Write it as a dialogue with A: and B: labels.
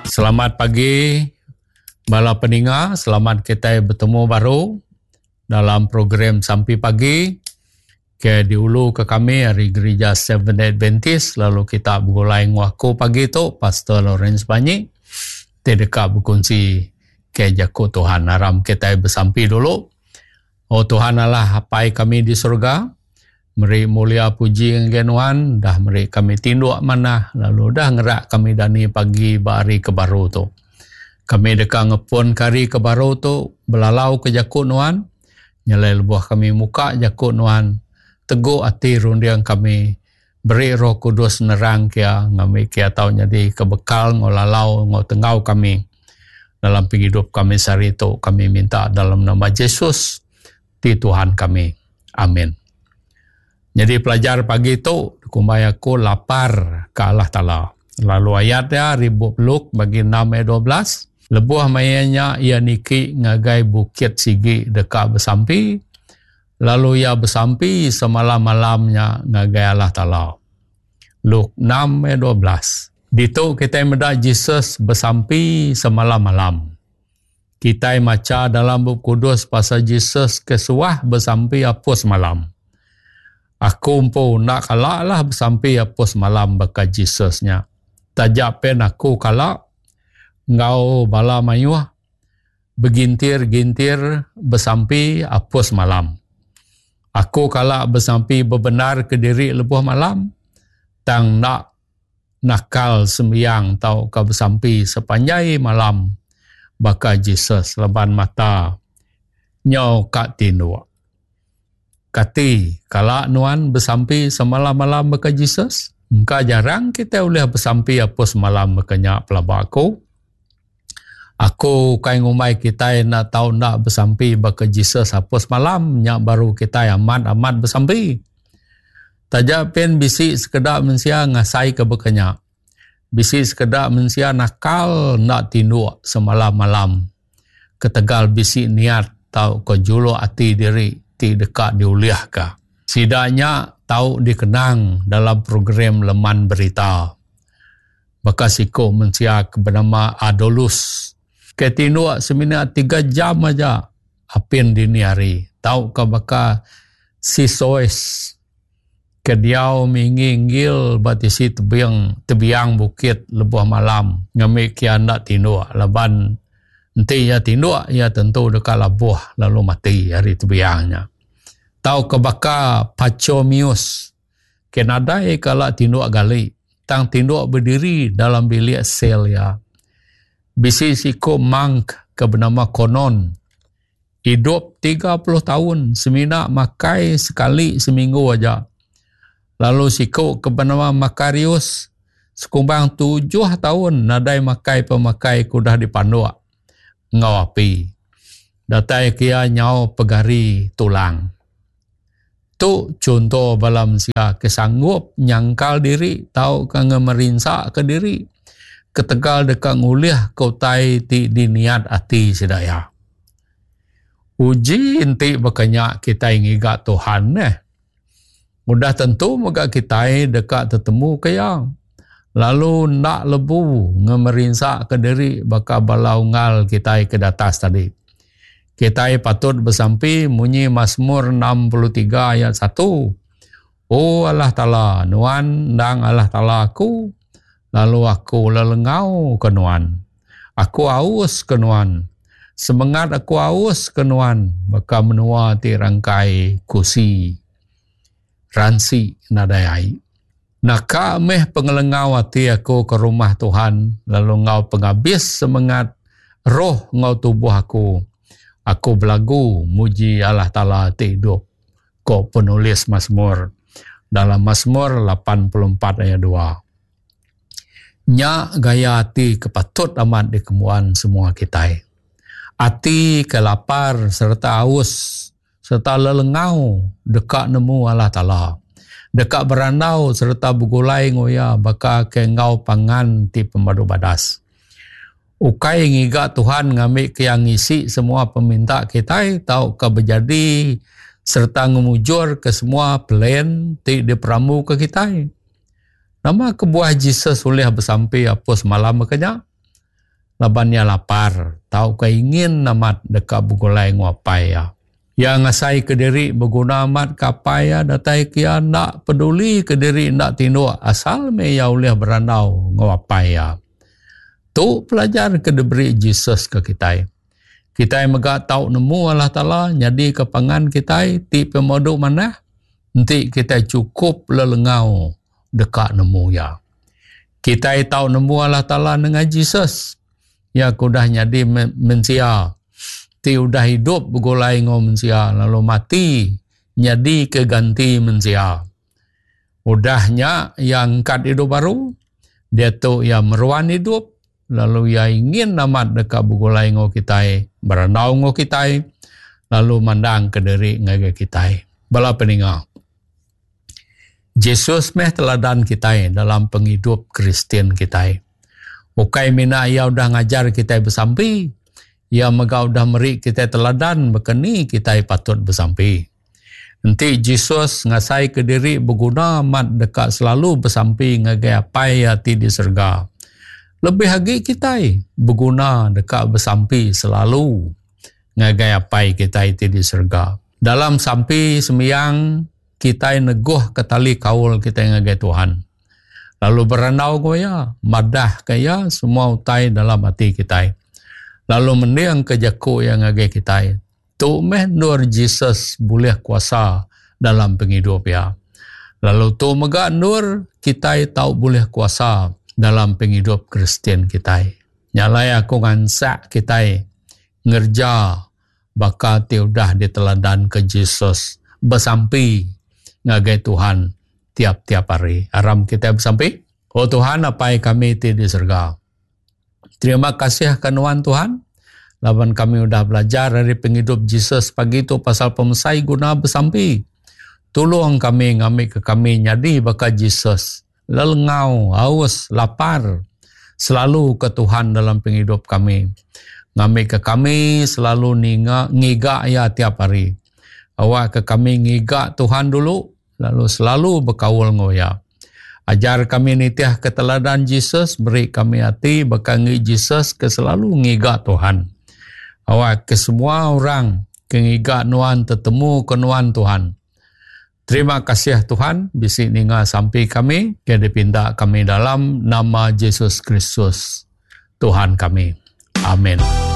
A: Selamat pagi bala peninga, selamat kitai betemu baru dalam program Sampi Pagi ke diulu ke kami ari Gerija Seventh Adventist lalu kita begulai enggau aku pagi tu Pastor Lawrence Banyi ti deka bekunsi ke jaku Tuhan. Aram kitai besampi dulu. O Tuhan Allah Apai kami di surga, meri mulia puji ngagai Nuan, dah meri kami tinduk manah lalu udah ngerak kami dani pagi ba hari ke baru tu. Kami deka ngepunka hari ke baru tu belalauka jaku Nuan, nyelai lebuh kami muka jaku Nuan, tegu ati runding kami, beri Roh Kudus nerang kia ngambi kia tau nyadi ke bekal enggau lalau enggau tenggau kami. Dalam pengidup kami sehari tu, kami minta dalam nama Jesus ti Tuhan kami. Amin. Nyadi pelajar pagi tu dikumbai aku lapar ke Allah Taala. Lalu ayat iya ari bup Luke bagi 6 ayat 12, lebuh maya nya iya niki ngagai bukit sigi deka besampi, lalu iya besampi semalam-malam nya ngagai Allah Taala. Luke 6 ayat 12. Ditu kitai meda Jesus besampi semalam-malam. Kitai macha dalam Bup Kudus pasal Jesus ke suah besampi apus malam. Aku empu enda kala lah besampi apus malam baka Jesus nya. Taja pen aku kala enggau bala mayuh begintir-gintir besampi apus malam. Aku kala besampi bebendar kediri lebuh malam tang enda nakal sembiang tauka besampi sepanjai malam baka Jesus laban mata nyau ka tinduk. Kati kala nuan besampi semalam-malam baka Jesus? Engka jarang kitai ulih besampi apus malam baka nya pelaba aku. Aku ukai ngumbai kitai enda tau enda besampi baka Jesus apus malam nya baru kitai amat-amat besampi. Taja pen bisi sekeda mensia ngasaika baka nya. Bisi sekeda mensia nakal enda tinduk semalam-malam ketegal bisi niat tauka juluk ati diri ti deka diulihka. Sida nya tau dikenang dalam program leman berita. Baka siku mensia ke benama Adolus ke tinduk semina tiga jam aja apin dini hari tauka baka Sisoes ke diau minggi-nggil ba tisi tebing tebiang bukit lebuh malam ngambika iya enda tinduk laban enti iya tinduk iya tentu deka labuh lalu mati ari tebiang nya. Tauka baka Pachomius ke nadai kala tinduk gali tang tinduk bediri dalam bilik sel iya. Bisi siku monk ke benama Konon idup 30 taun semina makai sekali seminggu aja. Lalu siku ke benama Makarius sekumbang tujuh taun nadai makai pemakai ke udah dipanduk enggau api. Datai ke iya nyau pegari tulang. Tu chunto bala mensia ke sanggup nyangkal diri tauka ngemerinsaka diri ketegal deka ngulihka utai ti diniat ati sida iya. Uji enti baka nya kitai ngiga Tuhan neh. Udah tentu mega kitai deka tetemuka Iya lalu enda lebu ngemerinsaka diri baka bala unggal kitai ke datas tadi. Kitai patut besampi munyi Masmur 63 ayat 1, O Allah Taala, Nuan endang Allah Taala aku, lalu aku lelengau ke Nuan. Aku aus ke Nuan. Semengat aku aus ke Nuan baka menua ti rangkai kusi ransi nadai ai. Naka meh pengelengau ati aku ke rumah Tuhan lalu enggau pengabis semengat, roh enggau tubuh aku, aku belagu muji Allah Taala ti idup, ko penulis Masmur dalam Masmur 84 ayat 2. Nya gaya ati ke patut amat dikembuan semua kitai. Ati ke lapar sereta aus sereta lelengau deka nemu Allah Taala, deka berandau sereta begulai enggau Iya baka ke enggau pangan ti pemadu badas. Ukai ngiga Tuhan ngambika Iya ngisi semua peminta kitai tauka bejadi sereta ngemujurka semua plan ti diperambuka kitai. Nama kebuah Jesus ulih besampi apus malam baka nya? laban iya lapar tauka ingin amat deka begulai enggau apai iya. Iya ngasaika diri beguna amat ke apai iya datai ke iya enda peduli ke diri enda tinduk asal meh iya ulih berandau enggau apai iya. Tu pelajar ke diberi Jesus ke kitai. Kitai mega tau nemu Allah Taala nyadika pangan kitai ti pemadu manah enti kitai chukup lelengau deka nemu Iya. Kitai tau nemu Allah Taala nengah Jesus. Iya ke udah nyadi mensia ti udah idup begulai enggau mensia lalu mati nyadika ganti mensia. Udah nya iya angkat idup baru, diatu iya meruan idup lalu iya ingin amat deka begulai enggau kitai, berandau enggau kitai lalu mandangka diri ngagai kitai. Bala peninga. Jesus meh teladan kitai dalam pengidup Kristian kitai. Ukai mina iya udah ngajar kitai besampi, iya mega udah meri kitai teladan baka ni kitai patut besampi. Enti Jesus ngasaika diri beguna amat deka selalu besampi ngagai Apai iya ti di serega, lebih agi kitai beguna deka besampi selalu ngagai Apai kitai ti di serega. Dalam sampi sembiang, kitai neguhka tali kaul kitai ngagai Tuhan. Lalu berandau enggau Iya, madahka Iya semua utai dalam ati kitai. Lalu mendingka jaku Iya ngagai kitai. Tu meh endur Jesus bulih kuasa dalam pengidup Iya. Lalu tu mega endur kitai tau bulih kuasa dalam pengidup Kristian kitai. Nya alai aku ngansak kitai ngereja baka ti udah diteladanka Jesus besampi ngagai Tuhan tiap-tiap hari. Aram kitai besampi. O Tuhan Apai kami ti di serega. Terima kasih ke nuan Tuhan laban kami udah belajar ari pengidup Jesus pagi tu pasal pemesai guna besampi. Tulung kami ngambika kami nyadi baka Jesus lelengau, aus, lapar selalu ke Tuhan dalam pengidup kami. Ngambika kami selalu ninga ngiga iya tiap hari. Awakka kami ngiga Tuhan dulu lalu selalu bekaul enggau iya. Ajar kami nitihka teladan Jesus, beri kami ati baka enggi Jesus ke selalu ngiga Tuhan. Awakka semua orang ke ngiga nuan tetemuka nuan Tuhan. Terima kasih Tuhan bisi ninga sampi kami ke dipinta kami dalam nama Jesus Kristus Tuhan kami. Amin.